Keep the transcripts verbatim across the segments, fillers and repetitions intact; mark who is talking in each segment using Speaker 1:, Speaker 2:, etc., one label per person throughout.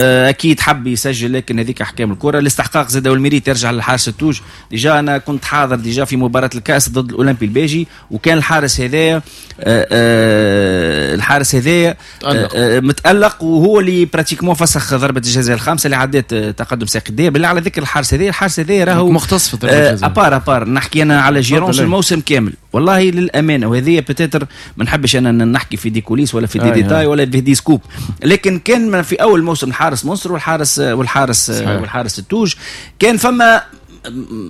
Speaker 1: اكيد حب يسجل، لكن هذيك احكام الكره. الاستحقاق زاد وال mérite يرجع للحارس التوج. déjà انا كنت حاضر déjà في مباراة الكاس ضد الاولمبي الباجي، وكان الحارس هذايا آه، آه، الحارس هذايا آه، متالق، وهو اللي pratiquement فسخ ضربه الجزاء الخامسة اللي عدت تقدم ساقية الداير. بالله على ذكر الحارس هذايا، الحارس هذايا راهو
Speaker 2: مختص في ضربه الجزاء.
Speaker 1: à part à part نحكي انا على gérance الموسم كامل. والله للامانه، وهذه peut-être ما نحبش انا نحكي في des coulisses ولا في des détails ولا في des scoops، لكن كان في اول موسم الحارس منصر والحارس والحارس صحيح. والحارس التوج كان فما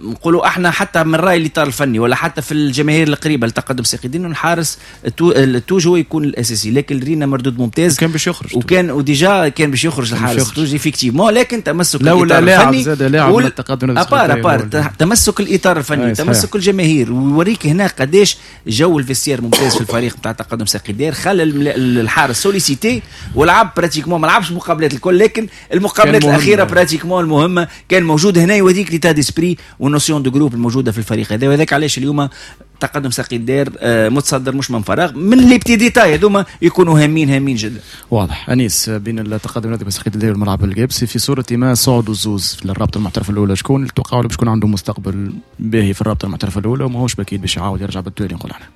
Speaker 1: نقولوا احنا حتى من راي الاطار الفني ولا حتى في الجماهير القريبة لتقدم ساقية الداير الحارس التوج هو يكون الاساسي، لكن رينا مردود ممتاز.
Speaker 2: كان باش يخرج،
Speaker 1: وكان و déjà كان باش يخرج الحارس التوج effectivement، لكن تمسك
Speaker 2: الاطار الفني زاد لاعب
Speaker 1: وال... التقدم à part à part تمسك الاطار الفني، تمسك الجماهير، ويوريك هنا قداش جو ال vestiaire ممتاز في الفريق بتاع تقدم ساقية الداير. خلى الحارس sollicité ولعب pratiquement، ما لعبش المقابلات الكل، لكن المقابلات الاخيرة pratiquement المهمة كان موجود. هنا يوريك l'état d'esprit وال notion de groupe الموجودة في الفريق هذا، وهذاك علاش اليوم تقدم ساقية الداير آه، متصدر مش من فراغ. من les petits détails هذوما يكونوا هامين هامين جدا.
Speaker 2: واضح انيس، بين التقدم النادي بساقية الداير والملعب القابسي في صوره ما صعدوا الزوز في الرابطة المحترفه الاولى، شكون اللي توقعوا باش يكون عنده مستقبل باهي في الرابطة المحترفه الاولى وماهوش باكيد باش يعاود يرجع بالتوالي؟ نقول احنا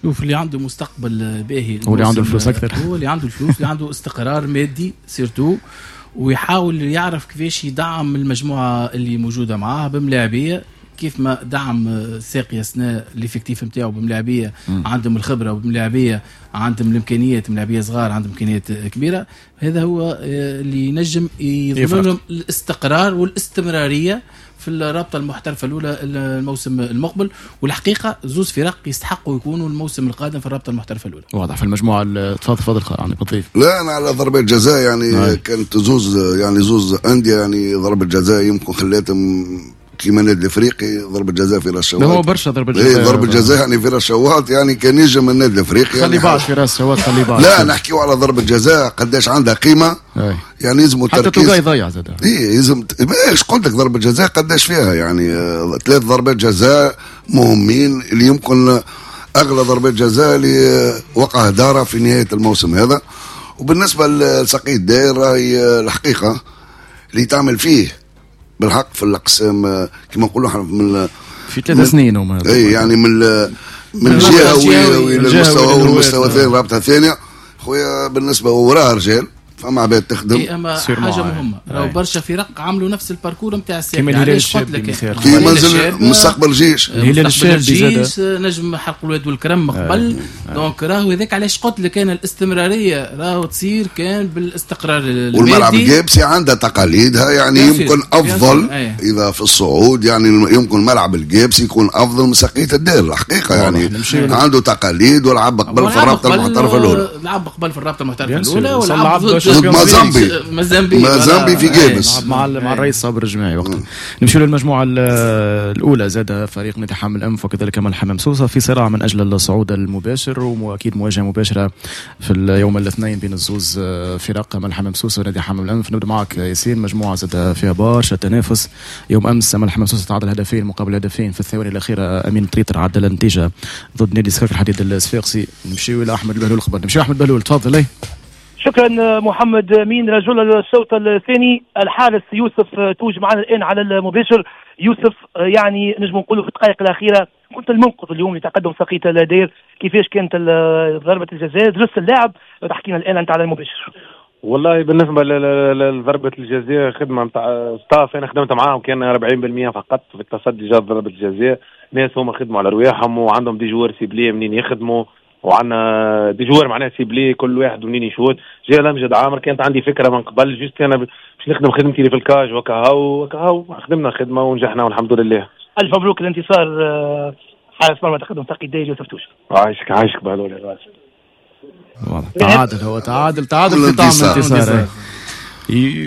Speaker 3: شوف، اللي عنده مستقبل باهي
Speaker 2: هو اللي عنده الفلوس اكثر.
Speaker 3: هو اللي عنده الفلوس، اللي عنده استقرار مادي surtout، ويحاول يعرف كيفاش يدعم المجموعة اللي موجودة معاه بملاعبيه، كيف ما دعم ساقية سنة l'effectif نتاعو بملاعبيه عندهم الخبرة وبملاعبيه عندهم الامكانيات، ملاعبيه صغار عندهم امكانيات كبيره. هذا هو اللي ينجم يضمن لهم الاستقرار والاستمرارية في الرابطة المحترفه الاولى الموسم المقبل. والحقيقة زوز فرق يستحقوا يكونوا الموسم القادم في الرابطة المحترفه الاولى.
Speaker 2: واضح. في المجموعه، تفضل تفضل، عندك تضيف؟
Speaker 4: لا، انا على ضربه جزاء يعني نعم. كانت زوز يعني زوز اندية يعني ضربه جزاء يمكن خلاتهم، كيما النادي الافريقي ضربه جزاء في راس شواط.
Speaker 2: هو برشا ضربه جزاء.
Speaker 4: إيه، ضربه جزاء يعني في راس شواط، يعني كان ينجم النادي الافريقي
Speaker 2: خلي
Speaker 4: يعني
Speaker 2: بعد في راس شواط، خلي بعد.
Speaker 4: لا، نحكيو على ضربه جزاء قداش عندها قيمه. أي. يعني يلزم
Speaker 2: حتى توقاي يضيع زاد.
Speaker 4: اي يلزم، ايش قلت لك، ضربه جزاء قداش فيها يعني آه، ثلاث ضربات جزاء مهمين اللي يمكن اغلى ضربات جزاء اللي وقع دارها في نهاية الموسم هذا. وبالنسبة لساقية الداير، راهي الحقيقة اللي تعمل فيه بالحق في الاقسام كما نقولوا احنا من
Speaker 2: في ثلاث سنين هما.
Speaker 4: اي يعني من من الجهوي للمستوى والمستوى الثاني، الرابطة الثانيه. خويا بالنسبة وراها رجال، فما عباد تخدم.
Speaker 3: إيه، اما حاجة مهمه، راهو برشا فرق عملوا نفس ال parcours نتاع الساحل.
Speaker 2: كيما الهلال الشابي مثال.
Speaker 4: كيما منزل مستقبل جيش.
Speaker 2: الهلال الشابي،
Speaker 3: الجيش، نجم حلق الواد والكرم قبل. donc راهو هذاك علاش قلت لك انا الاستمرارية راهو تصير كان بالاستقرار.
Speaker 4: والملعب القابسي عندها تقاليدها، يعني يمكن افضل اذا في الصعود، يعني يمكن ملعب القابسي يكون افضل من ساقية الدير الحقيقه، يعني عنده تقاليد ولعب قبل في الرابطة المحترفه الاولى.
Speaker 3: لعب قبل في الرابطة المحترفه الاولى ولعب
Speaker 4: ضد مازامبي.
Speaker 3: مازامبي.
Speaker 4: مازامبي في قابس.
Speaker 2: مع مع الرئيس صابر الجماعي وقتها. نمشيو للمجموعة الاولى زاد، فريق نادي حمام الانف وكذلك الحمام سوسة في صراع من اجل الصعود المباشر، واكيد مواجهة مباشرة في اليوم الاثنين بين الزوز فرق، الحمام سوسة ونادي حمام الانف. نبدا معك ياسين، مجموعة زاد فيها برشا تنافس. يوم امس الحمام سوسة تعادل هدفين مقابل هدفين، في الثواني الاخيرة امين طريطر عدل النتيجة ضد نادي سكك الحديد الصفاقسي. نمشيو الى احمد البهلول قبل، نمشيو احمد بهلول، تفضل.
Speaker 5: شكرا محمد مين. رجل الشوط الثاني الحارس يوسف توج معنا الان على المباشر. يوسف، يعني نجم نقولوا في الدقائق الاخيرة كنت المنقذ اليوم لتقدم ساقية الدير. كيفاش كانت ضربه الجزاء، درس اللاعب، تحكينا الان انت على المباشر.
Speaker 6: والله بالنسبة لضربه الجزاء خدمة نتاع staff، انا خدمت معاهم كان أربعين بالمية فقط في التصدي. جات ضربه الجزاء، ناس هما خدموا على رواحهم وعندهم des joueurs ciblés منين يخدموا، وعندنا des joueurs معناها ciblés، كل واحد ومنين يشوت. جا لمجد عامر، كانت عندي فكرة من قبل، juste انا باش نخدم خدمتي اللي في ال cage وكهو وكهو، خدمنا خدمة ونجحنا والحمد لله.
Speaker 5: الف مبروك الانتصار آه، حارس مرمى تقدم ساقية الداير يوسف توش.
Speaker 6: عايشك عايشك بهلول.
Speaker 2: تعادل، هو تعادل تعادل في طعم الانتصار.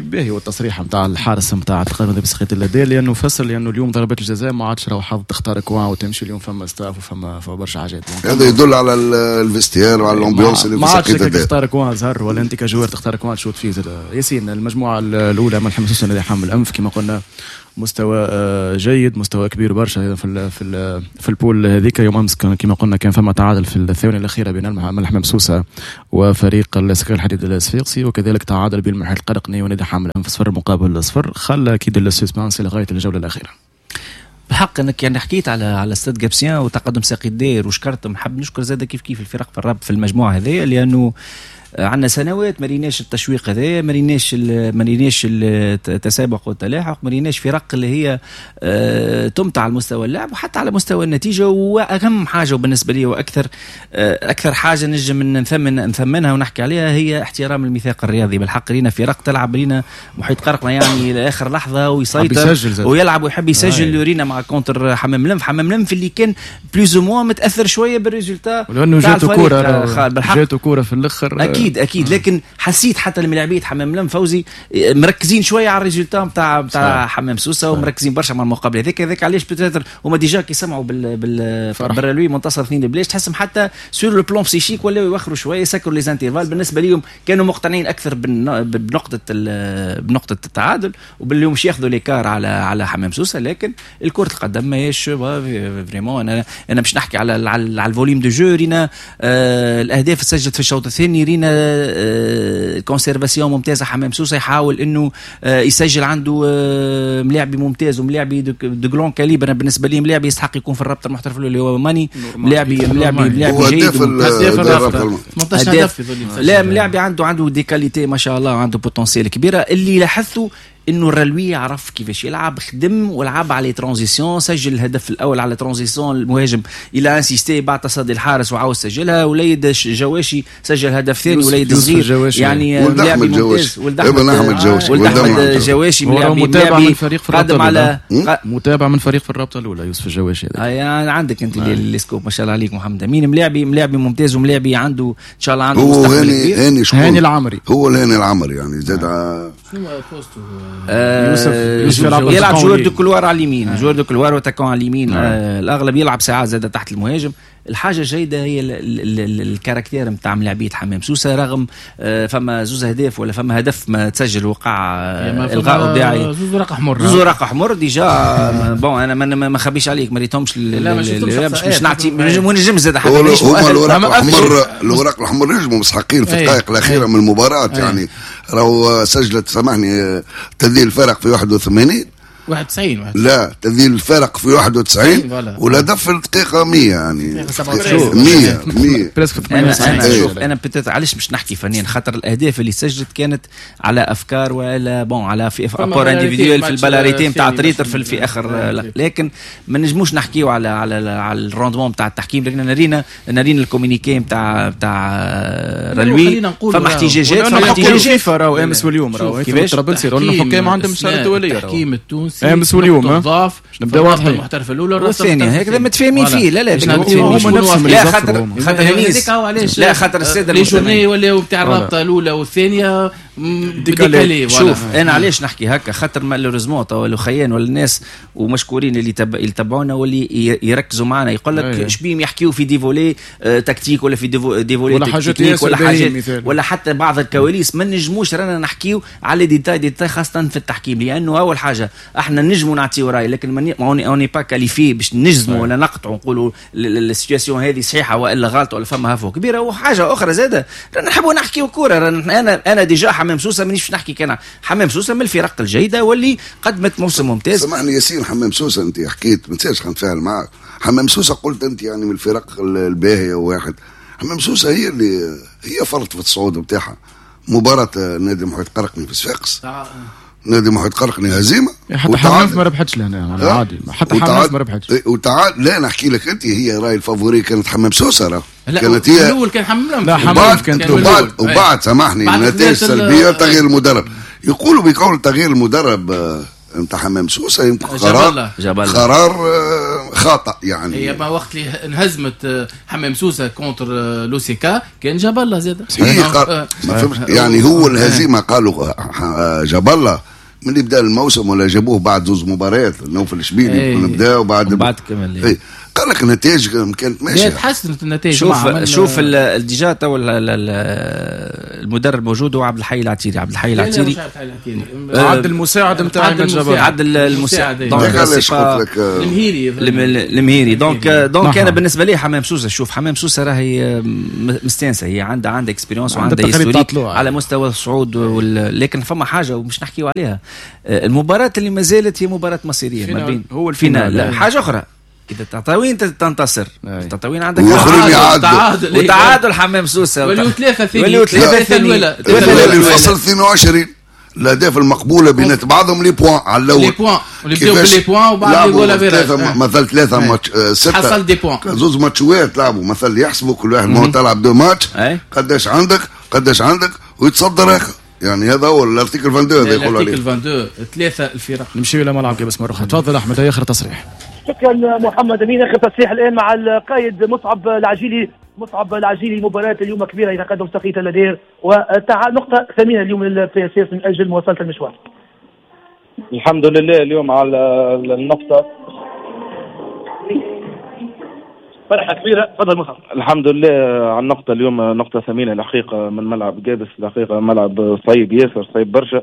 Speaker 2: باهي هو التصريح نتاع الحارس نتاع تقريبا بسخيت اللدي، لانه فسر لانه اليوم ضربات الجزاء ما عادش راهو حظ تختار coin وتمشي، اليوم فما staff وفما فما برشا حاجات.
Speaker 4: هذا يدل على ال vestiaire وعلى l'ambiance
Speaker 2: اللي في ما عادش تختار coin زهر ولا انت ك joueur تختار coin تشوت فيه. ياسين، المجموعة الاولى من الحمام السوسي حمام الانف، كما قلنا مستوى آه، جيد، مستوى كبير برشا في ال في ال في ال poule هذيك. يوم امس كما قلنا كان فما تعادل في الثواني الاخيرة بين الحمام سوسة وفريق السكك الحديد الصفاقسي، وكذلك تعادل بين المحيط القرق. قرقني ونادي حمام الأنف صفر مقابل صفر، خلى اكيد ال suspense لغاية الجولة الاخيرة.
Speaker 1: بحق انك يعني حكيت على على Stade Gabésien وتقدم ساقي الدير وشكرتهم، نحب نشكر زاد كيف كيف الفرق في الراب في المجموعة هذه، لانه عندنا سنوات ما ريناش التشويق هذا، ما ريناش ما ريناش التسابق والتلاحق، ما ريناش فرق اللي هي تمتع على مستوى اللعب وحتى على مستوى النتيجة. واهم حاجة وبالنسبة لي واكثر اكثر حاجة نجم نثمن نثمنها ونحكي عليها هي احترام الميثاق الرياضي. بالحق رينا فرق تلعب، رينا محيط قرقنا يعني لاخر لحظة ويسيطر ويلعب ويحب يسجل. رينا مع contre حمام لنف، حمام لنف اللي كان plus ou moins متاثر شوية بال résultat
Speaker 2: لانه جاتو كورة، جاتو كورة في الاخر
Speaker 1: اكيد اكيد، لكن حسيت حتى الملاعبيه حمام لم فوزي مركزين شوية على ال résultat نتاع نتاع حمام سوسة ومركزين برشا مع المقابلة هذيك. هذاك علاش peut-être هما déjà كي سمعوا بال بال بالرلوي منتصر اثنين بلاش، تحسهم حتى sur le plan psychique ولاو يوخروا شوية، يسكروا les intervalles. بالنسبة لهم كانوا مقتنعين اكثر بنقطة بنقطة التعادل وباللي مش ياخذوا l'écart على على حمام سوسة. لكن الكره القدم ماهيش vraiment. انا انا باش نحكي على على ال volume de jeu، رينا آه الاهداف تسجلت في الشوط الثاني، رينا conservation ممتازة، حمام سوسة يحاول انه يسجل، عنده ملاعبي ممتاز وملاعبي de grand calibre. انا بالنسبة لي ملاعبي يستحق يكون في الرابطة المحترف اللي هو ماني، ملاعبي ملاعبي ملاعبي جيد،
Speaker 3: ثمنطاش هدف،
Speaker 1: لا ملاعبي عنده عنده des qualités ما شاء الله، عنده potentiel كبيرة. اللي لاحظته انه الرلوي عرف كيفاش يلعب، خدم ولعب على transitions، سجل الهدف الاول على transition، المهاجم il a insisté بعد تصدي الحارس وعاود سجلها. وليد جواشي سجل هدف ثاني، وليد صغير يعني لاعب ممتاز،
Speaker 4: ولد احمد جواشي،
Speaker 1: ولد احمد جواشي
Speaker 2: متابع من فريق في الرابطة على متابع من فريق في الرابطة الاولى يوسف الجواشي.
Speaker 1: يعني عندك انت les scoops ما شاء الله عليك محمد امين، ملاعبي ملاعبي ممتاز وملاعبي عنده ان شاء الله عنده مستقبل
Speaker 4: كبير. هاني
Speaker 2: هاني العمري
Speaker 4: هو الهاني العمري يعني زاد
Speaker 3: شنو poste
Speaker 1: آه يوسف, يوسف يلعب, يلعب joueur de couloir على اليمين، آه. joueur de couloir و attaquant على اليمين. آه. آه الاغلب يلعب ساعات زاد تحت المهاجم. الحاجة الجيدة هي ال caractère نتاع ملاعبيه حمام سوسة، رغم آه فما زوز اهداف ولا فما هدف ما تسجل وقع آه الغاء وداعي،
Speaker 3: زوز ورق حمر،
Speaker 1: زوز ورق حمر déjà. bon انا ما ما خبيش عليك ما ريتهمش،
Speaker 3: لا
Speaker 1: مش مش نعطي ونجم زاد
Speaker 4: حتى هما الورق الحمر، الورق الحمر نجموا مسحقين في الدقائق الاخيرة من المباراة يعني. راهو سجلت سامحني تذليل الفرق في واحد وثمانين
Speaker 3: واحد وتسعين،
Speaker 4: لا تذليل الفرق في واحد وتسعين والهدف في الدقيقة مية يعني مية مية.
Speaker 1: انا انا شوف انا peut-être علاش باش نحكي فنيا، خاطر الاهداف اللي سجلت كانت على افكار ولا bon على في apport individuel في ال balle arrêtée نتاع تريتر في, في اخر، لكن ما نجموش نحكيو على على على ال rendement نتاع التحكيم. لكن رينا رينا ال communiqué نتاع نتاع رلوي، فما احتجاجات، فما
Speaker 2: احتجاجات راهو امس واليوم راهو طرابلسي الحكام عندهم اشارة دولية،
Speaker 3: التحكيم التونسي
Speaker 2: امس واليوم
Speaker 3: ضعف
Speaker 2: نبداو واضحين
Speaker 3: المحترف الاولى
Speaker 1: والثانية هكذا متفاهمين فيه. لا لا
Speaker 2: هما نفسهم
Speaker 1: لا خاطر خاطر لا خاطر السادة
Speaker 3: les journées ولاو نتاع الرابطة الاولى والثانية décalées.
Speaker 1: شوف انا علاش نحكي هكا، خاطر malheureusement توا الخيان ولا الناس ومشكورين اللي تب... اللي تبعونا واللي يركزوا معنا يقول لك شبيهم يحكيوا في des volets tactiques ولا في des volets
Speaker 2: ولا حاجات
Speaker 1: ولا حاجات ولا حتى بعض الكواليس. ما نجموش رانا نحكيو على détails détails خاصة في التحكيم، لانه اول حاجة احنا نجموا نعطيو راي، لكن on n'est pas qualifié باش نجزموا ولا نقطعوا نقولوا ال situation هذه صحيحه والا غلط ولا فما هفوة كبيرة. وحاجه اخرى زاده رانا نحبوا نحكيو كورة. انا انا déjà حمام سوسة مانيش باش نحكي كان حمام سوسة من الفرق الجيدة واللي قدمت موسم ممتاز.
Speaker 4: سامحني ياسين، حمام سوسة انت حكيت ما تنساش نتفاعل معك. حمام سوسة قلت انت يعني من الفرق الباهيه وواحد، حمام سوسة هي اللي هي فرط في الصعود نتاعها. مباراة نادي محيط قرقني في صفاقس، نادي محيط قرقني هزيمة،
Speaker 2: حتى حمام ما ربحتش لهنا عادي، حتى حمام ما ربحتش.
Speaker 4: وتعال لا نحكي لك انت، هي راي ال favori كانت حمام سوسة راه
Speaker 3: كانت هي الاول كان حمام،
Speaker 2: لا حمام كانت
Speaker 4: وبعد وبعد سامحني النتائج السلبية تغيير المدرب، يقولوا بقول تغيير المدرب نتاع حمام سوسة يمكن قرار
Speaker 1: جبالة.
Speaker 4: قرار خاطئ يعني.
Speaker 3: هي ما وقت اللي انهزمت حمام سوسة contre لوسيكا كان جاب الله زاد
Speaker 4: يعني هو الهزيمة قالوا جاب الله من اللي بدا الموسم ولا جابوه بعد زوز مباريات نوفل الشبيلي نبداو بعد
Speaker 1: بعد كمل.
Speaker 4: إيه. قال لك النتائج كانت ماشية،
Speaker 3: تحسنت النتائج.
Speaker 1: شوف شوف déjà تو المدرب موجود هو عبد الحي العتيري. عبد الحي العتيري
Speaker 2: عبد المساعد نتاع
Speaker 1: المجبر، عبد المساعد
Speaker 4: donc
Speaker 3: المهيري
Speaker 1: المهيري donc donc انا بالنسبة لي حمام سوسة، شوف حمام سوسة راهي مستانسه، هي عندها عندها expérience وعندها historique على مستوى الصعود، لكن فما حاجة ومش نحكيو عليها، المباراة اللي ما زالت هي مباراة مصيرية ما بين
Speaker 2: هو ال finale.
Speaker 1: حاجة اخرى اذا تطاوين تنتصر، تطاوين عندك
Speaker 4: تعادل
Speaker 1: وتعادل حمام سوسة
Speaker 3: وليو ثلاثة ثاني
Speaker 4: ثلاثة
Speaker 3: الاولى
Speaker 4: الفصل اثنين وعشرين الاهداف المقبولة بين بعضهم les points على الاول
Speaker 3: les points اللي بداو ب les points وبعد les goal
Speaker 4: average مثلا ثلاثة ماتش ستة
Speaker 3: حصل des points
Speaker 4: زوز ماتشوات لعبوا مثلا يحسبوا كل واحد ما تلعب deux matchs قداش عندك قداش عندك ويتصدر اخر. يعني هذا هو ال article اثنين وعشرين هذا يقولوا عليه
Speaker 3: ال article اثنين وعشرين ثلاثة الفرق.
Speaker 2: نمشيو الى ملعب قابس مرة اخرى. تفضل احمد اخر تصريح.
Speaker 5: شكرا محمد امين. اخر تصريح الان مع القائد مصعب العجيلي. مصعب العجيلي مباراة اليوم كبيرة يتقدم ساقية الدير وتع نقطة ثمينة اليوم لل PSS من اجل مواصلة المشوار.
Speaker 6: الحمد لله اليوم على النقطة،
Speaker 5: فرحه كبيرة. تفضل مصعب.
Speaker 6: الحمد لله على النقطة اليوم، نقطة ثمينة الحقيقة من ملعب قابس، الحقيقة ملعب صعيب ياسر، صعيب برشا،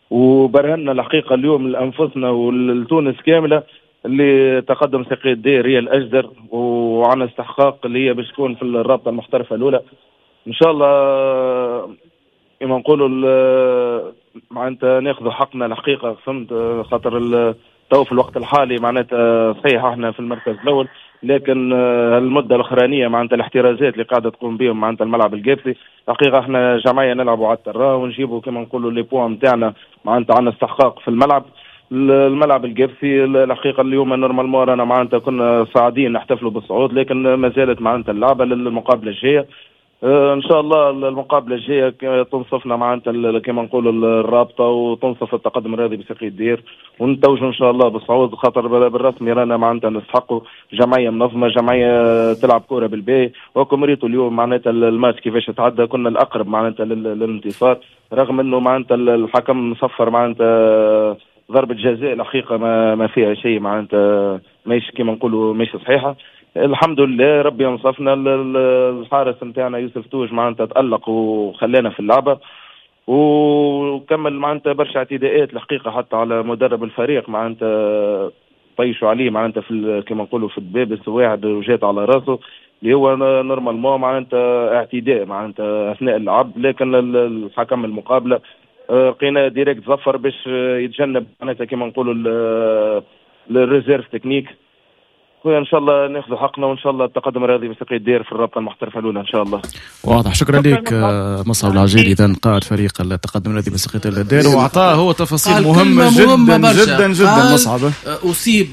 Speaker 6: وبرهنا الحقيقة اليوم لانفسنا ولتونس كاملة اللي تقدم ساقية الدير هي الاجدر وعنا استحقاق اللي هي باش تكون في الرابطة المحترفه الاولى ان شاء الله. كما نقولوا معناتها ناخذوا حقنا الحقيقة، فهمت، خاطر تو في الوقت الحالي معناتها صحيح احنا في المركز الاول، لكن المدة الاخرانية معناتها الاحترازات اللي قاعدة تقوم بهم معناتها الملعب القابسي الحقيقة احنا جمعية نلعبوا على ال terrain ونجيبوا كما نقولوا les points نتاعنا، معناتها عندنا استحقاق في الملعب. الملعب القابسي الحقيقة اليوم normalement رانا معناتها كنا صاعدين نحتفلوا بالصعود، لكن ما زالت معناتها اللعبة للمقابله الجاية. ان شاء الله المقابلة الجاية تنصفنا معناتها كما نقولوا الرابطة وتنصف التقدم الرياضي بساقية الدير ونتوجوا ان شاء الله بالصعود، خاطر بالرسمي رانا معناتها نستحقوا جمعية منظمة، جمعية تلعب كورة بالباهي. وكم ريتوا اليوم معناتها الماتش كيفاش تعدى، كنا الاقرب معناتها للانتصار، رغم انه معناتها الحكم صفر معناتها ضربه جزاء الحقيقة ما, ما فيها شيء معناتها ماهيش كما نقولوا ماهيش صحيحه. الحمد لله ربي انصفنا، الحارس نتاعنا يوسف توج معناتها تألق وخلانا في اللعبة وكمل معناتها برشا اعتداءات الحقيقة حتى على مدرب الفريق معناتها طيشوا عليه معناتها في كما نقولوا في الدبابس واحد وجات على راسه اللي هو normalement معناتها اعتداء معناتها اثناء اللعب، لكن الحكم المقابلة لقينا direct ظفر باش يتجنب معناتها كما نقولوا ال réserve technique. خويا ان شاء الله ناخذ حقنا وان شاء الله التقدم الرياضي بساقية الدير في الرابطة المحترفه الاولى ان شاء الله.
Speaker 2: واضح، شكرا لك مصعب العجيلي، اذا قائد فريق التقدم الرياضي بساقية الدير، واعطاه هو تفاصيل مهمة جدا جدا جدا. مصعب
Speaker 3: اصيب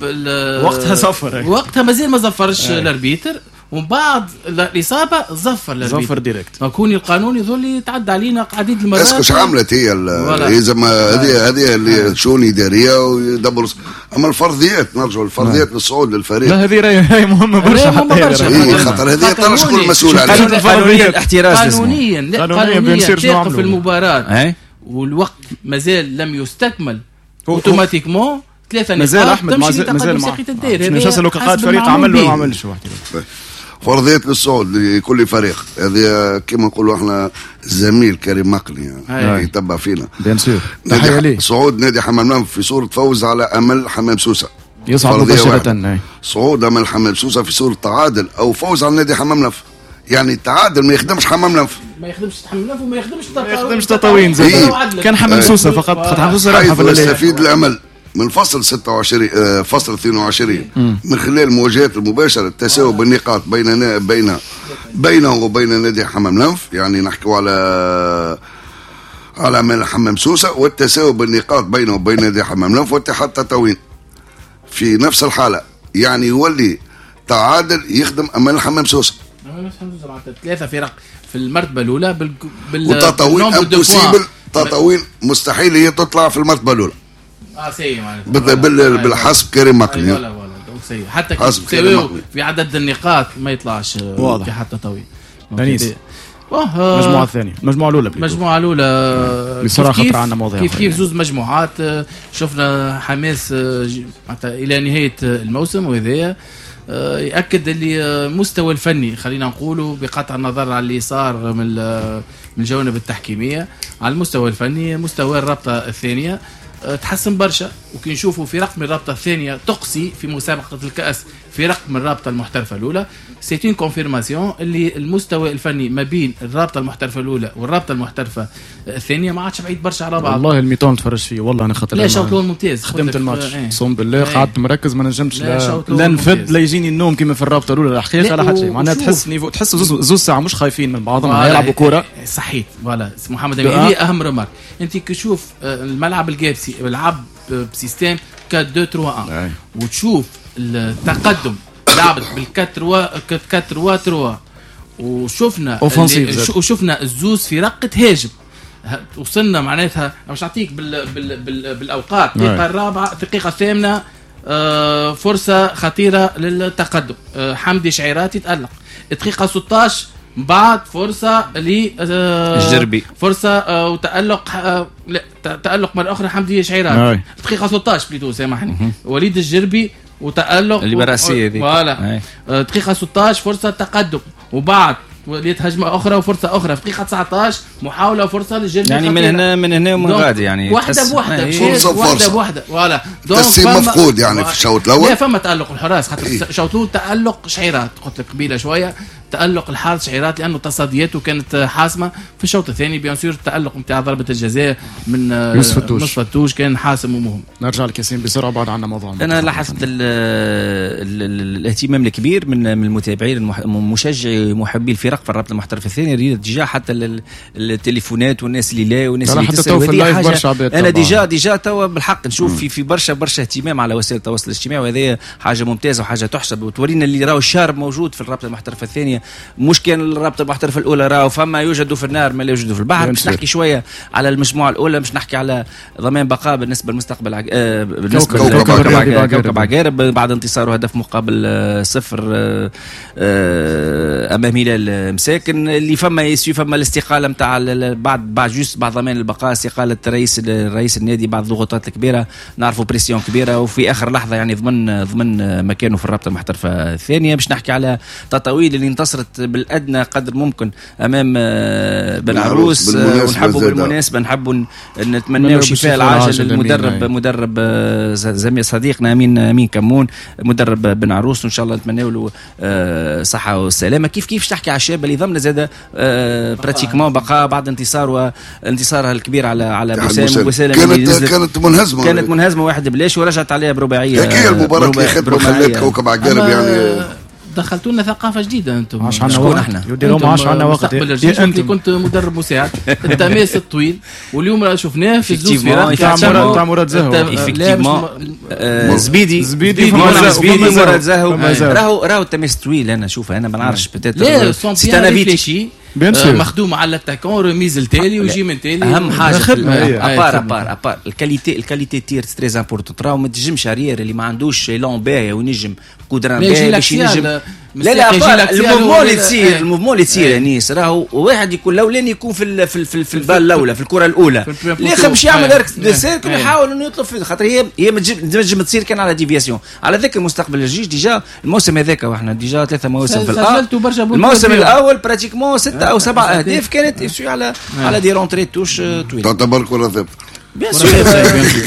Speaker 2: وقتها صفر،
Speaker 3: وقتها مازال ما زفرش ال arbitre، ومن بعد الاصابة زفر ال arbitre،
Speaker 2: زفر direct.
Speaker 3: كوني القانون يظل يتعدى علينا عديد المرات.
Speaker 4: est-ce que عملت هي هي هذه هذه اللي شؤون ادارية ويدبروا. اما الفرضيات، نرجعوا للفرضيات للصعود للفريق،
Speaker 2: لا هذه راهي مهمة برشا،
Speaker 3: مهمة برشا.
Speaker 4: اي خاطر هذه ترى شكون المسؤول عليها
Speaker 1: قانونيا، الاحتراز
Speaker 3: قانونيا قانونيا تقف المباراة والوقت مازال لم يستكمل automatiquement ثلاثة
Speaker 2: مازال
Speaker 3: نقاط
Speaker 2: احمد
Speaker 3: تمشي
Speaker 2: مازال
Speaker 3: لتقدم ساقية الدير.
Speaker 2: مش نسالوا قائد فريق عمل ولا ما عملش.
Speaker 4: فرضية للصعود لكل فريق هذه كما نقولوا احنا الزميل كريم مقلي يعني يتبع فينا
Speaker 2: bien sûr. تحية ليه.
Speaker 4: صعود نادي حمام الأنف في صورة فوز على امل حمام سوسة
Speaker 2: يصعد مباشرة.
Speaker 4: صعود امل حمام سوسة في صورة تعادل او فوز على نادي حمام الأنف، يعني التعادل ما يخدمش حمام الأنف،
Speaker 3: ما يخدمش حمام الأنف وما يخدمش
Speaker 2: ما يخدمش تطاوين زاد. كان حمام سوسة فقط، خاطر حمام سوسة
Speaker 4: رابحه في الليل. يستفيد الامل من فصل ستة وعشرين فصل اثنين وعشرين من خلال المواجهات المباشرة التساوي بالنقاط بين بين بينه وبين نادي حمام الأنف، يعني نحكوا على على من حمام سوسة، والتساوي بالنقاط بينه وبين نادي حمام الأنف واتحاد تطاوين في نفس الحالة، يعني يولي تعادل يخدم امام حمام سوسة.
Speaker 3: ثلاثة فرق في المرتبة الاولى بال بال
Speaker 4: وتطاوين impossible، تطاوين مستحيل هي تطلع في المرتبة الاولى.
Speaker 3: اه c'est معناتها
Speaker 4: بال بالحسب كريم مقلي.
Speaker 3: voilà voilà donc c'est حتى كي في عدد النقاط ما يطلعش اتحاد تطاوين.
Speaker 2: انيس المجموعة الثانية، المجموعة الأولى،
Speaker 3: المجموعة الأولى
Speaker 2: بصراحة خطر عندنا مواضيع
Speaker 3: كيف كيف زوز مجموعات، شفنا حماس إلى نهاية الموسم، وهذايا ياكد اللي المستوى الفني خلينا نقولوا بقطع النظر على اللي صار من من الجوانب التحكيميه، على المستوى الفني مستوى الرابطة الثانية تحسن برشا. وكي نشوفوا فرق من الرابطة الثانية تقصي في مسابقة الكاس فرق من الرابطة المحترفه الاولى، c'est une confirmation اللي المستوى الفني ما بين الرابطة المحترفه الاولى والرابطه المحترفه الثانية ما عادش بعيد برشا على بعض.
Speaker 2: والله ال mi-temps تفرج فيه والله انا خاطر
Speaker 3: لا شوط الاول ممتاز،
Speaker 2: خدمت الماتش اقسم بالله قعدت مركز ما نجمش لا, لا نفد لا يجيني النوم كما في الرابطة الاولى الحقيقة لا حتى شيء. معناها تحس niveau، تحس زوز ساعة مش خايفين من بعضهم يلعبوا كورة.
Speaker 3: صحيت voilà محمد امين، هذه اهم remarque. انت كي تشوف الملعب القابسي لعب ب système أربعة اثنين ثلاثة واحد وتشوف التقدم لعبت بالكاتروا كاتروا ثلاثة وشفنا وشفنا الزوز فرق تهاجم، وصلنا معناتها مش نعطيك بال بال بال بالاوقات. الدقيقة الرابعة الدقيقة الثامنة آه فرصة خطيرة للتقدم، آه حمدي شعيرات يتالق. الدقيقة ستة عشر بعد فرصة ل
Speaker 1: الجربي
Speaker 3: فرصة آه وتالق آه لا تالق مرة اخرى حمدي شعيرات. الدقيقة ستة عشر plutôt سامحني وليد الجربي وتألق
Speaker 1: اللي براسية ذيك
Speaker 3: voilà. دقيقة ستة عشر فرصة تقدم، وبعد وليت هجمة أخرى وفرصة أخرى في دقيقة تسعة عشر محاولة وفرصة للجربي.
Speaker 1: يعني من هنا من هنا ومن غادي يعني
Speaker 3: واحدة بواحدة واحدة بواحدة voilà.
Speaker 4: تسليم مفقود يعني في الشوط الأول.
Speaker 3: لا فما تألق الحراس خاطر الشوط الأول تألق شعيرات قلت لك قبيلة شوية، تألق الحارس شعيرات لأنه تصدياته كانت حاسمة. في الشوط الثاني bien sûr التألق نتاع ضربة الجزاء من يوسف التوش كان حاسم ومهم.
Speaker 2: نرجع لكاسين بسرعة بعد عندنا موضوع.
Speaker 1: أنا لاحظت ال ال الاهتمام الكبير من من المتابعين المشجعي محبي الفرق في الرابطة المحترفة الثانية، déjà حتى التليفونات والناس اللي لا والناس اللي تسأل. أنا déjà déjà توا بالحق نشوف في في برشا برشا اهتمام على وسائل التواصل الاجتماعي، وهذه حاجة ممتازة وحاجة تحسب وتورينا اللي راهو الشارب موجود في الرابطة المحترفة الثانية، مش كان الرابطة المحترفه الاولى راهو فما يوجد في النار ما لا يوجد في البحر. باش نحكي شوية على المجموعة الاولى، باش نحكي على ضمان بقاء بالنسبة للمستقبل عج... آه بالنسبة لكوكب كوكب عقارب بعد انتصاره هدف مقابل آه صفر آه آه امام هلال مساكن. اللي فما يسوي فما الاستقالة نتاع بعد بعد juste بعد ضمان البقاء، استقالة رئيس رئيس النادي بعد الضغوطات الكبيرة، نعرفوا pression كبيرة، وفي اخر لحظة يعني ضمن ضمن مكانه في الرابطة المحترفه الثانية. باش نحكي على تطاويل اللي انتصرت بالأدنى قدر ممكن أمام بن عروس، ونحبوا بالمناسبة نحبوا نتمناو شفاء العاجل للمدرب مدرب زميل صديقنا أمين أمين كمون مدرب بن عروس، وإن شاء الله نتمناو له صحة والسلامة. كيف كيف تحكي على الشاب اللي ضمن زاد pratiquement بقاء بعد انتصار وانتصارها الكبير على على بوسام.
Speaker 4: بوسام كانت كانت منهزمة
Speaker 1: كانت منهزمة واحد بلاش ورجعت عليها برباعية.
Speaker 4: هي المباراة اللي خدمت خلت كوكب عقارب يعني
Speaker 3: دخلتوا لنا ثقافة جديدة انتم.
Speaker 2: شكون احنا؟ يديروا عشان عندنا وقت.
Speaker 3: انت كنت مدرب مساعد التماس الطويل واليوم شفناه في الزوز فرق
Speaker 2: تاع مراد زهو
Speaker 1: effectivement زبيدي زبيدي زبيدي مراد زهو راهو راهو التماس طويل. انا شوفه انا ما نعرفش peut-être
Speaker 3: c'est un avis مخدوم على l'attaquant remise التالي ويجي من تالي.
Speaker 1: اهم حاجة ابار ابار ابار الكاليتي الكاليتي تير très importante. راهو ما تنجمش arrière اللي ما عندوش élan باهي وينجم قدره باهي باش ينجم لا لا ال mouvement اللي تصير ال mouvement اللي تصير انيس راهو واحد يكون الاولاني يكون في في في, في ال balle الاولى في الكره الاولى اللي باش يعمل arc de cercle يحاول انه يطلب في خاطر هي هي ما تنجم تصير كان على déviation. على ذكر مستقبل الجيش déjà الموسم هذاك واحنا déjà ثلاثة مواسم في الموسم الاول pratiquement ستة او سبعة اهداف كانت issue على على des rentrées touche طويلة
Speaker 4: تعتبر كره ثابتة
Speaker 1: bien sûr.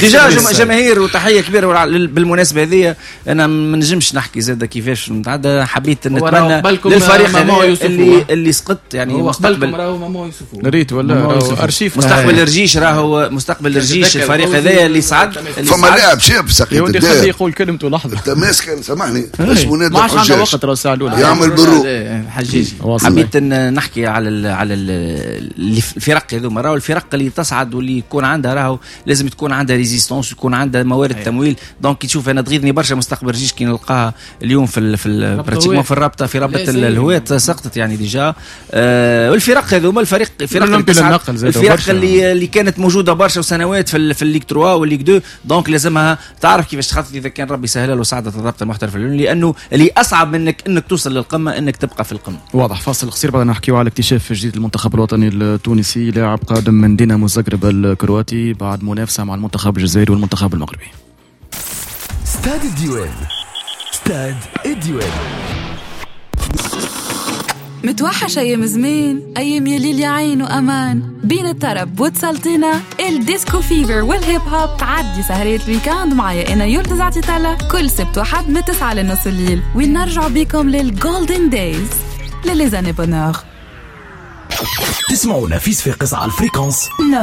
Speaker 1: déjà جماهير وتحية كبيرة بالمناسبة هذه. انا ما نجمش نحكي زاد كيفاش نتعدى، حبيت نتمنى للفريق اللي اللي سقط يعني
Speaker 3: مستقبل راهو مامو يوسف
Speaker 2: ريت ولا ارشيف
Speaker 1: مستقبل الرجيش راهو مستقبل الرجيش الفريق هذايا اللي صعد.
Speaker 4: فما لاعب شاب سقيت
Speaker 2: الدار يقول كلمته لحظة
Speaker 4: التماس كان سامحني اسمه نادر
Speaker 2: حجاج ما عادش وقت راه الساعة الاولى
Speaker 4: يعمل برو
Speaker 3: حجاجي.
Speaker 1: حبيت نحكي على على الفرق هذوما راهو الفرق اللي تصعد واللي يكون عندها راهو لازم تكون عندها résistance ويكون عندها موارد أيه. تمويل. donc تشوف انا تغيظني برشا مستقبل الجيش كي نلقاها اليوم في في pratiquement في الرابطة في رابطه الهواة سقطت يعني déjà. آه والفرق هذوما الفريق الفرق اللي, الفرق اللي اللي كانت موجودة برشا وسنوات في في ال Ligue ثلاثة وال Ligue اثنين donc لازمها تعرف كيفاش تخطط اذا كان ربي سهل له وصعدت الرابطة المحترفه، لانه اللي اصعب منك انك توصل للقمه انك تبقى في القمه.
Speaker 2: واضح. فاصل قصير بعد نحكيو على اكتشاف جديد المنتخب الوطني التونسي، لاعب قادم من دينامو زغرب الكرواتي بعد منافسة مع المنتخب الجزائري والمنتخب المغربي.
Speaker 7: استاد الديوان، ستاد الديوان.
Speaker 8: متوحش أيام زمان، أيام يا ليل يا عين وأمان، بين الطرب والسلطينة، ال disco fever وال hip hop. تعدي سهرية ال week-end معايا أنا يلدز عطيتالا كل سبت وحد من تسعة لنص الليل، وين نرجع بيكم لل golden days les années bonheur.
Speaker 7: تسمعونا في صفاقس على ال fréquence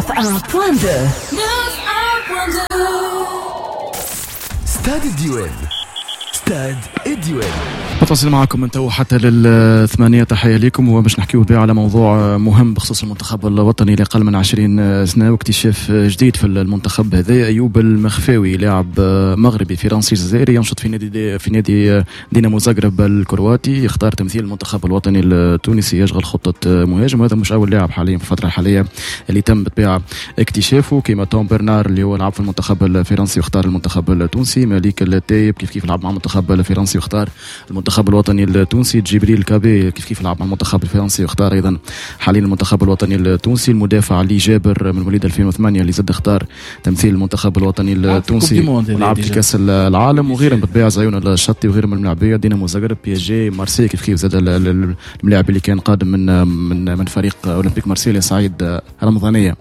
Speaker 8: تسعة واحد فاصلة اثنين.
Speaker 7: ستاد الديوان، ستاد الديوان.
Speaker 2: متواصل معكم من تو حتى للثمانية. تحية لكم، وباش نحكيو بها على موضوع مهم بخصوص المنتخب الوطني لأقل من عشرين سنة واكتشاف جديد في المنتخب هذا. أيوب المخفاوي، لاعب مغربي فرنسي جزائري ينشط في نادي في نادي دينامو زغرب الكرواتي، يختار تمثيل المنتخب الوطني التونسي، يشغل خطة مهاجم. وهذا مش أول لاعب حاليا في الفترة الحالية اللي تم بالطبيعة اكتشافه، كما توم برنار اللي هو لعب في المنتخب الفرنسي واختار المنتخب التونسي، مالك التايب كيف كيف لعب مع المنتخب الفرنسي واختار المنتخب الوطني التونسي، جبريل كابي كيف كيف لعب مع المنتخب الفرنسي واختار ايضا حاليا المنتخب الوطني التونسي، المدافع علي جابر من مواليد ألفين وثمانية اللي زاد اختار تمثيل المنتخب الوطني التونسي ولعب في كاس العالم، وغيرهم بالطبيعة زيون الشطي وغيرهم من الملاعبيه، دينامو زغرب، بي اس جي، مارسيل كيف كيف زاد الملاعب اللي كان قادم من من من فريق اولمبيك مارسيليا سعيد رمضانيه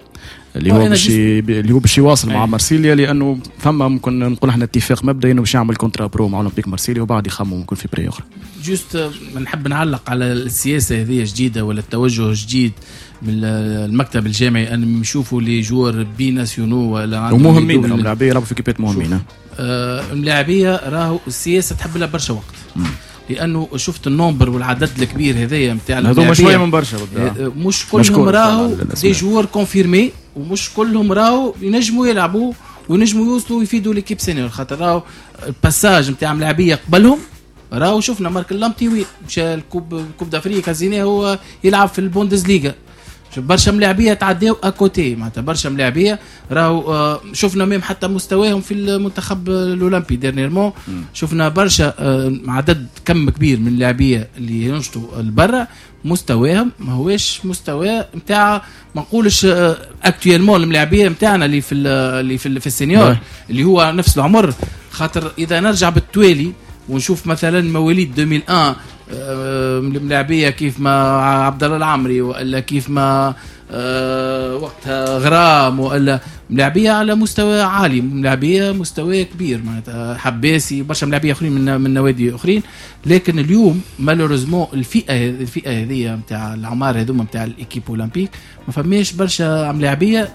Speaker 2: اللي هو باش اللي هو باش يواصل مع مارسيليا، لانه فما ممكن نقول احنا اتفاق مبدئي انه باش يعمل contrat pro مع اولمبيك مارسيليا وبعد يخمم ممكن في prêt اخرى.
Speaker 3: juste نحب نعلق على السياسة هذه جديدة ولا التوجه جديد من المكتب الجامعي ان يشوفوا les joueurs binationaux ولا
Speaker 2: ومهمين الملاعبيه يلعبوا في équipe ات مهمين.
Speaker 3: آه الملاعبيه راهو السياسة تحب لها برشا وقت. مم. لانه شفت ال nombre والعدد الكبير هذايا نتاع
Speaker 2: هذوما شوية من برشا،
Speaker 3: مش كلهم راهو des joueurs confirmés، ومش كلهم راهو ينجموا يلعبوا وينجموا يوصلوا ويفيدوا l'équipe senior، خاطر راهو ال passage نتاع ملاعبيه قبلهم راهو شفنا مارك اللامتي وين مشى ال coupe coupe d'Afrique هزيناه هو يلعب في البوندسليغا، برشا ملاعبيه تعداو à côté، معناتها برشا ملاعبيه راهو شفنا même حتى مستواهم في المنتخب الاولمبي dernièrement، شفنا برشا عدد كم كبير من اللاعبيه اللي ينشطوا البرا مستواهم ما هوش مستوى نتاع ما نقولش actuellement الملاعبيه نتاعنا اللي في اللي في, في ال senior اللي هو نفس العمر، خاطر اذا نرجع بالتوالي ونشوف مثلا مواليد ألفين وواحد الملاعبيه كيف ما عبد الله العمري والا كيف ما وقتها غرام والا ملاعبيه على مستوى عالي، ملاعبيه مستوى كبير معناتها حباسي برشا ملاعبيه اخرين من من نوادي اخرين، لكن اليوم malheureusement الفئة الفئة هذه نتاع العمار هذوما نتاع l'équipe olympique ما فماش برشا ملاعبيه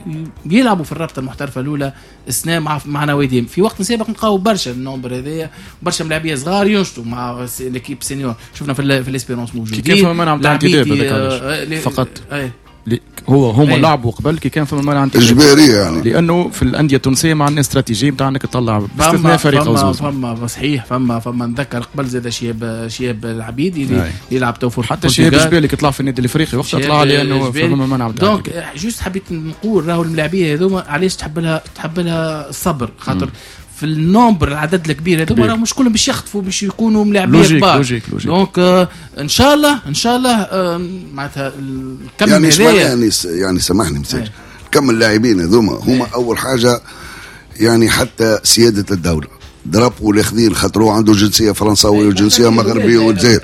Speaker 3: يلعبوا في الرابطة المحترفه الاولى السنة مع مع نواديهم. في وقت سابق نلقاو برشا ال nombre هذايا برشا ملاعبيه صغار ينشطوا مع l'équipe senior، شفنا في في l'Espérance موجودين
Speaker 2: كيف ما نعم فقط أي. هو هما أيه. لعبوا قبل كي كان فما منع
Speaker 4: اجباري يعني،
Speaker 2: لانه في الاندية التونسية ما عندنا استراتيجية نتاع انك تطلع باستثناء فريق او زوز.
Speaker 3: فما صحيح فما فما نذكر قبل زاد شياب شياب العبيدي اللي يلعب تو
Speaker 2: حتى شياب الجبالي طلع في النادي الافريقي وقتها طلع لانه فما منع.
Speaker 3: donc juste حبيت نقول راهو الملاعبيه هذوما علاش تحب لها تحب لها الصبر، خاطر في ال nombre العدد الكبير هذوما راه مش كلهم باش يخطفوا باش يكونوا ملاعبيه كبار. donc آه ان شاء الله ان شاء الله آه معناتها الكم
Speaker 4: يعني يعني يعني سامحني مساج كم اللاعبين هذوما هما اول حاجة يعني حتى سيادة الدولة drapeau الاخذين خاطر هو عنده جنسية فرنساويه وجنسيه مغربية والجزائر،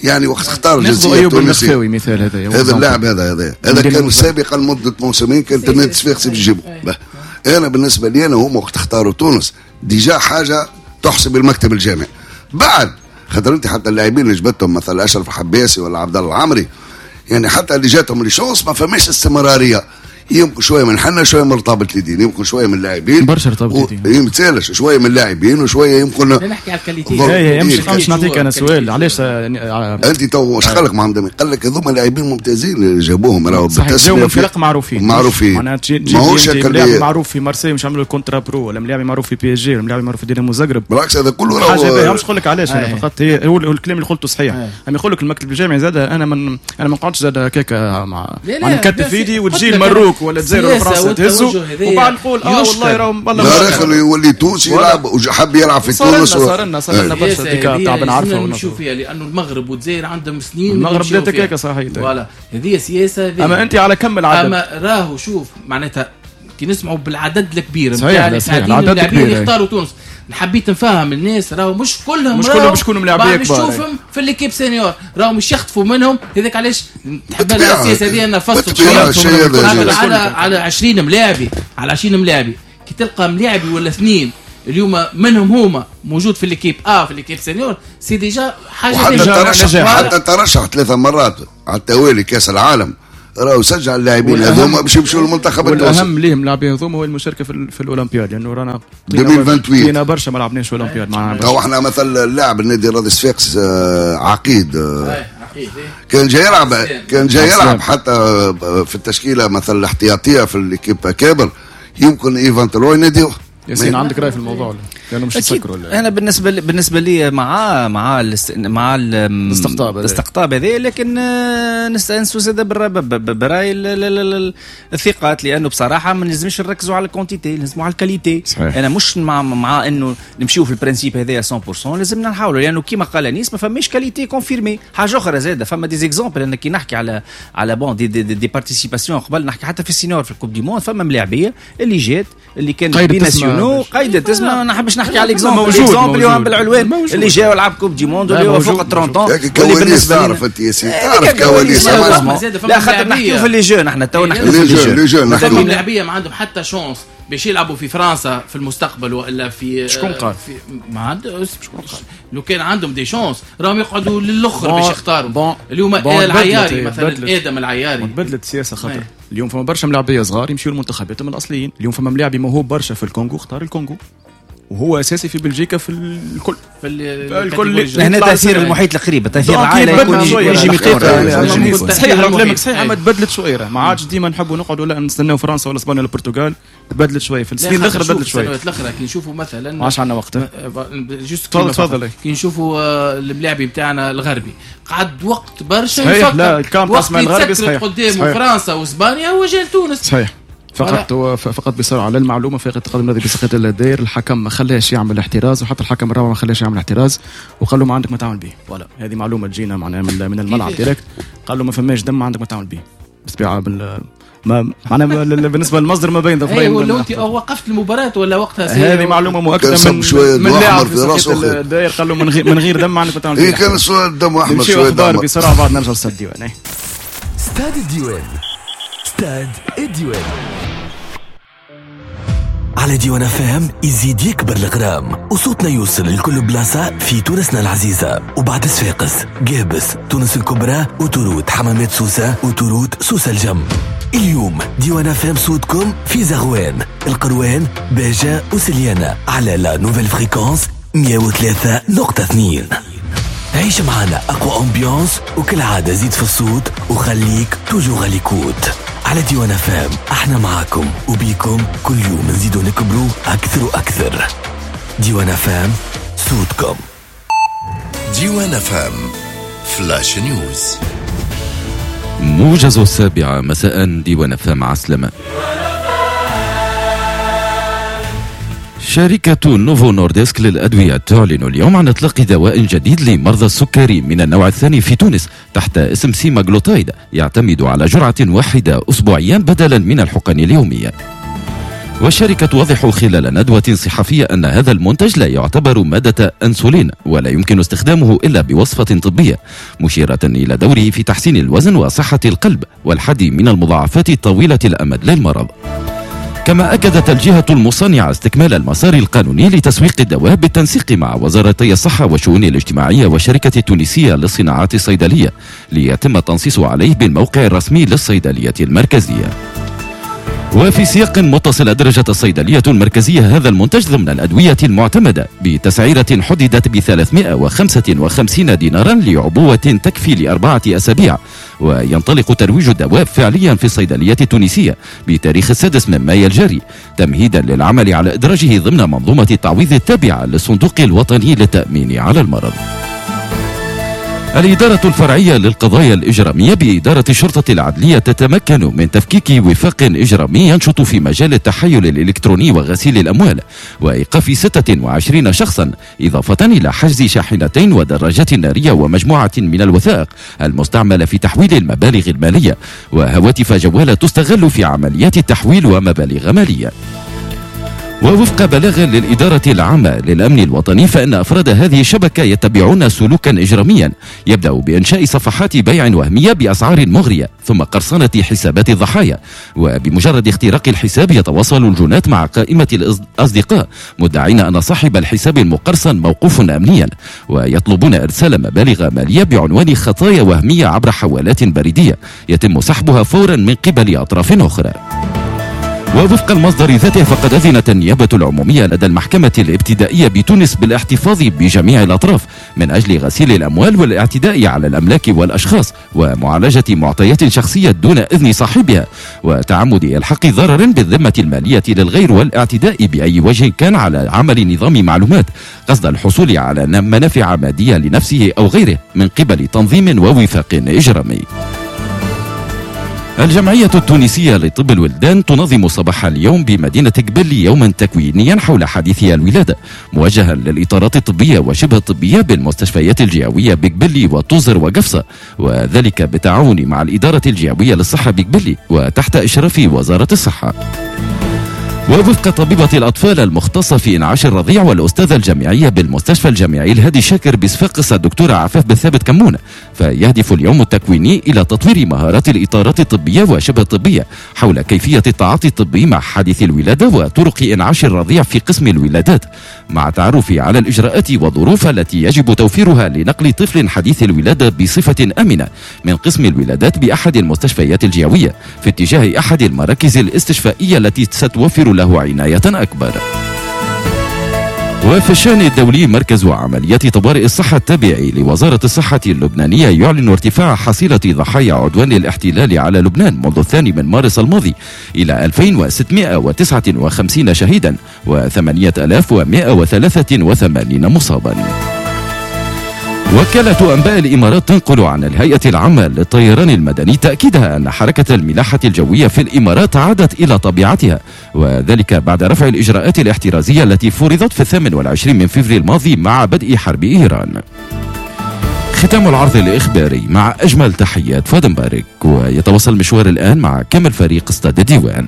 Speaker 4: يعني وقت اختار الجنسية التونسية.
Speaker 2: مثال هذا
Speaker 4: هذا اللاعب هذا هذا هذا كان سابقا لمدة موسمين كانت النادي الصفاقسي باش يجيبه. انا بالنسبة لي انا هما وقت اختاروا تونس déjà حاجة تحسب المكتب الجامعي بعد، خاطر انت حتى اللاعبين اللي جبتهم مثلا اشرف الحباسي ولا عبد الله العمري يعني حتى اللي جاتهم les chances ما فماش استمرارية، يمكن شوية من حنا شوية من رطابه اليدين، يمكن شوية من اللاعبين
Speaker 2: برشا رطابه اليدين
Speaker 4: ما شوية من اللاعبين وشوية يمكن
Speaker 3: نحكي على ال qualité.
Speaker 2: اي مش مش نعطيك انا سؤال علاش
Speaker 4: انت تو اش قال لك محمد؟ قال لك هذوما لاعبين ممتازين اللي جابوهم راهو
Speaker 2: بالتسميه فرق معروفين
Speaker 4: معروفين
Speaker 2: معناها ماهوش لاعب معروف في مارسيل مش عملوا ال contrat pro ولا ملاعب معروف في بي اس جي ولا ملاعب معروف في دينامو زغرب،
Speaker 4: بالعكس هذا كله راهو
Speaker 2: حاجة. مش نقول لك علاش انا فقط هي هو الكلام اللي قلته صحيح، اما يقول لك المكتب الجامعي زاد انا من انا ما نقعدش زاد هكاك مع نكتف ايدي وتجي المروك ولا الجزائر ولا فرنسا تهزوا وبعد نقول اه والله راهم
Speaker 4: والله لا يولي تونسي يلعب وحب يلعب في تونس.
Speaker 2: صار لنا صار لنا برشا ديك تاع بن عرفه
Speaker 3: نمشيو فيها لانه المغرب والجزائر عندهم سنين
Speaker 2: المغرب بدات هكاك صحيح
Speaker 3: voilà هذه سياسة.
Speaker 2: اما انت على كم العدد
Speaker 3: اما راهو شوف معناتها كي نسمعوا بالعدد الكبير
Speaker 2: نتاع
Speaker 3: العدد الكبير اللي اختاروا تونس حبيت نفهم الناس راهو مش كلهم
Speaker 2: مش كلهم باش يكونوا ملاعبيه كبار،
Speaker 3: نشوفهم في l'équipe senior راهو مش يخطفوا منهم. هذاك علاش تحب السياسة هذه انا فصلت على على عشرين ملاعبي، على عشرين ملاعبي كي تلقى ملاعبي ولا اثنين اليوم منهم هما موجود في l'équipe A في l'équipe senior c'est déjà حاجة.
Speaker 4: حتى ترشح حتى ترشح ثلاث مرات على التوالي كاس العالم راهو سجل اللاعبين هذوما باش يمشوا للمنتخب التونسي.
Speaker 2: والاهم ليهم اللاعبين هذوما هو المشاركة في, في الاولمبياد، لانه رانا قينا برشا ما لعبناش اولمبياد معنا.
Speaker 4: تو احنا مثلا اللاعب النادي الرياضي الصفاقس عقيد كان جاي يلعب كان جاي يلعب حتى في التشكيلة مثلا الاحتياطيه في l'équipe اكابر يمكن éventuellement يناديوه.
Speaker 2: ياسين عندك راي في الموضوع ولا؟ لانه مش تسكروا ولا؟
Speaker 1: انا بالنسبة لي بالنسبة لي مع مع مع
Speaker 2: الاستقطاب
Speaker 1: الاستقطاب هذا، لكن نستانسوا زاد براي الثقات، لانه بصراحة ما لازمش نركزوا على ال quantité، لازم على ال qualité. صحيح. انا مش مع مع انه نمشيو في ال principe هذايا مية بالمية، لازمنا نحاولوا، لانه كيما قال انيس ما فماش qualité confirmée. حاجة اخرى زاده فما des exemples، انا كي نحكي على على bon des des, des participations قبل نحكي حتى في ال senior في ال Coupe du monde فما ملاعبيه اللي جات اللي كانت binationaux قيدت تسمى، ما نحبش نحكي على l'exemple l'exemple اللي هو بالعلوان اللي جاوا لعب Coupe du monde اللي هو فوق ثلاثين،
Speaker 4: واللي بالنسبة تعرف انت ياسين تعرف كواليس.
Speaker 1: لا خاطر نحكيو في les jeunes، احنا تو نحكيو في
Speaker 4: les jeunes،
Speaker 3: نحكيو اللاعبيه ما عندهم حتى chance باش يلعبوا في فرنسا في المستقبل والا في
Speaker 2: شكون قال
Speaker 3: ما عند شكون قال لو كان عندهم des chances راهم يقعدوا للاخر باش يختاروا. اليوم العياري مثلا ادم العياري
Speaker 2: بدلت السياسة، خاطر اليوم فما برشا ملاعبيه صغار يمشيو لمنتخباتهم الاصليين. اليوم فما ملاعبي موهوب برشا في الكونغو اختار الكونغو وهو اساسي في بلجيكا في الكل
Speaker 3: في
Speaker 2: الكل.
Speaker 1: هنا تاثير المحيط القريب، تاثير العائلة يكون يجي
Speaker 2: يجي صحيح كلامك صحيح، اما تبدلت شوية، ما عادش ديما نحبوا نقعدوا لا نستناو فرنسا ولا اسبانيا ولا البرتغال، تبدلت شوية في السنين الاخرى، تبدلت شوية
Speaker 3: السنوات الاخرى. كي نشوفوا مثلا
Speaker 2: ما عادش عندنا وقت،
Speaker 3: juste تفضل. كي نشوفوا الملاعب نتاعنا الغربي قعد وقت برشا يفكر،
Speaker 2: لا الكامب تاع الغربي صحيح
Speaker 3: قدامه فرنسا واسبانيا وجا لتونس
Speaker 2: صحيح. فقط فقط بسرعة للمعلومة، فريق التقدم الذي بسقية الدير الحكم ما خلاش يعمل احتراز، وحتى الحكم الرابع ما خلاش يعمل احتراز وقال له ما عندك ما تعمل به. voilà هذه معلومة تجينا معناها من من الملعب direct، قال له ما فماش دم ما عندك ما تعمل به. بالطبيعة بال ما معناها بالنسبة للمصدر ما بين ظفرين.
Speaker 3: ايوه لو انت وقفت المباراة ولا وقتها
Speaker 2: هذه معلومة مؤكدة من من لاعب في سقية الدير، قال له من غير من غير دم ما عندك ما تعمل به.
Speaker 4: اي كان شوية دم احمر شوية
Speaker 2: دم. بسرعة بعد نرجع لستاد الديوان.
Speaker 7: ستاد الديوان، ستاد الديوان على ديوان فهم يزيد يكبر الغرام وصوتنا يوصل لكل بلاصة في تونسنا العزيزة. وبعد صفاقس، قابس، تونس الكبرى، وتروت حمامات سوسة، وتروت سوسة الجم. اليوم ديوان فهم صوتكم في زغوان، القروان، باجة وسليانة على la nouvelle fréquence مية وثلاثة نقطة اثنين. عيش معنا أقوى ambiance وكالعادة زيد في الصوت وخليك toujours à l'écoute على ديوان فام. احنا معاكم وبيكم كل يوم نزيدوا نكبروا أكثر وأكثر. ديوان فام صوتكم.
Speaker 9: ديوان فام flash news.
Speaker 10: موجز السابعة مساء. ديوان فام عسلامة. شركة نوفو نورديسك للأدوية تعلن اليوم عن إطلاق دواء جديد لمرضى السكري من النوع الثاني في تونس تحت اسم سيماغلوتايد، يعتمد على جرعة واحدة أسبوعيا بدلا من الحقن اليومية. والشركة توضح خلال ندوة صحفية أن هذا المنتج لا يعتبر مادة أنسولين ولا يمكن استخدامه إلا بوصفة طبية، مشيرة إلى دوره في تحسين الوزن وصحة القلب والحد من المضاعفات الطويلة الأمد للمرض. كما أكدت الجهة المصنعة استكمال المسار القانوني لتسويق الدواء بالتنسيق مع وزارتي الصحة والشؤون الاجتماعية والشركة التونسية للصناعات الصيدلية ليتم التنصيص عليه بالموقع الرسمي للصيدلية المركزية. وفي سياق متصل أدرجت الصيدلية المركزية هذا المنتج ضمن الأدوية المعتمدة بتسعيرة حددت ب ثلاثمائة وخمسة وخمسين دينارا لعبوة تكفي لأربعة أسابيع، وينطلق ترويج الدواء فعليا في الصيدلية التونسية بتاريخ السادس من مايو الجاري، تمهيدا للعمل على إدراجه ضمن منظومة التعويض التابعة للصندوق الوطني للتأمين على المرض. الإدارة الفرعية للقضايا الإجرامية بإدارة الشرطة العدلية تتمكن من تفكيك وفاق إجرامي ينشط في مجال التحيل الإلكتروني وغسيل الأموال وإيقاف ستة وعشرين شخصا، إضافة إلى حجز شاحنتين ودراجات نارية ومجموعة من الوثائق المستعملة في تحويل المبالغ المالية وهواتف جوالة تستغل في عمليات التحويل ومبالغ مالية. ووفق بلاغ للإدارة العامة للأمن الوطني فإن أفراد هذه الشبكة يتبعون سلوكا إجراميا يبدأ بإنشاء صفحات بيع وهمية بأسعار مغرية ثم قرصنة حسابات الضحايا، وبمجرد اختراق الحساب يتواصل الجنات مع قائمة الأصدقاء مدعين أن صاحب الحساب المقرصن موقوف أمنيا، ويطلبون إرسال مبالغ مالية بعنوان خطايا وهمية عبر حوالات بريدية يتم سحبها فورا من قبل أطراف أخرى. ووفق المصدر ذاته فقد أذنت النيابة العمومية لدى المحكمة الابتدائية بتونس بالاحتفاظ بجميع الأطراف من أجل غسيل الأموال والاعتداء على الأملاك والأشخاص ومعالجة معطيات شخصية دون إذن صاحبها وتعمد إلحاق ضرر بالذمة المالية للغير والاعتداء بأي وجه كان على عمل نظام معلومات قصد الحصول على منافع مادية لنفسه أو غيره من قبل تنظيم ووفاق إجرامي. الجمعية التونسية لطب الولدان تنظم صباح اليوم بمدينة قبلي يوما تكوينيا حول حديث الولادة موجها للإطارات الطبية وشبه الطبية بالمستشفيات الجهوية بقبلي وطوزر وقفصة، وذلك بالتعاون مع الإدارة الجهوية للصحة بقبلي وتحت إشراف وزارة الصحة. ووفق طبيبة الأطفال المختصة في إنعاش الرضيع والأستاذة الجامعية بالمستشفى الجامعي الهادي شاكر بصفاقس الدكتورة عفاف بالثابت كمون، فيهدف اليوم التكويني إلى تطوير مهارات الإطارات الطبية وشبه الطبية حول كيفية التعاطي الطبي مع حادث الولادة وطرق إنعاش الرضيع في قسم الولادات، مع التعرف على الإجراءات والظروف التي يجب توفيرها لنقل طفل حديث الولادة بصفة آمنة من قسم الولادات بأحد المستشفيات الجهوية في اتجاه أحد المراكز الاستشفائية التي ستوفر له عناية أكبر. وفي الشأن الدولي، مركز عمليات طوارئ الصحة التابع لوزارة الصحة اللبنانية يعلن ارتفاع حصيلة ضحايا عدوان الاحتلال على لبنان منذ الثاني من مارس الماضي إلى ألفين وستمائة وتسعة وخمسين شهيدا وثمانية آلاف ومائة وثلاثة وثمانين مصابا. وكالة أنباء الإمارات تنقل عن الهيئة العامة للطيران المدني تأكيدها أن حركة الملاحة الجوية في الإمارات عادت إلى طبيعتها، وذلك بعد رفع الإجراءات الاحترازية التي فرضت في الثامن والعشرين من فبراير الماضي مع بدء حرب إيران. ختام العرض الإخباري مع أجمل تحيات فؤاد مبارك، ويتواصل المشوار الآن مع كامل فريق استاد الديوان.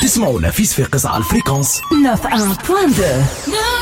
Speaker 7: تسمعونا في صفاقس على ال fréquence تسعة واحد فاصلة اثنين.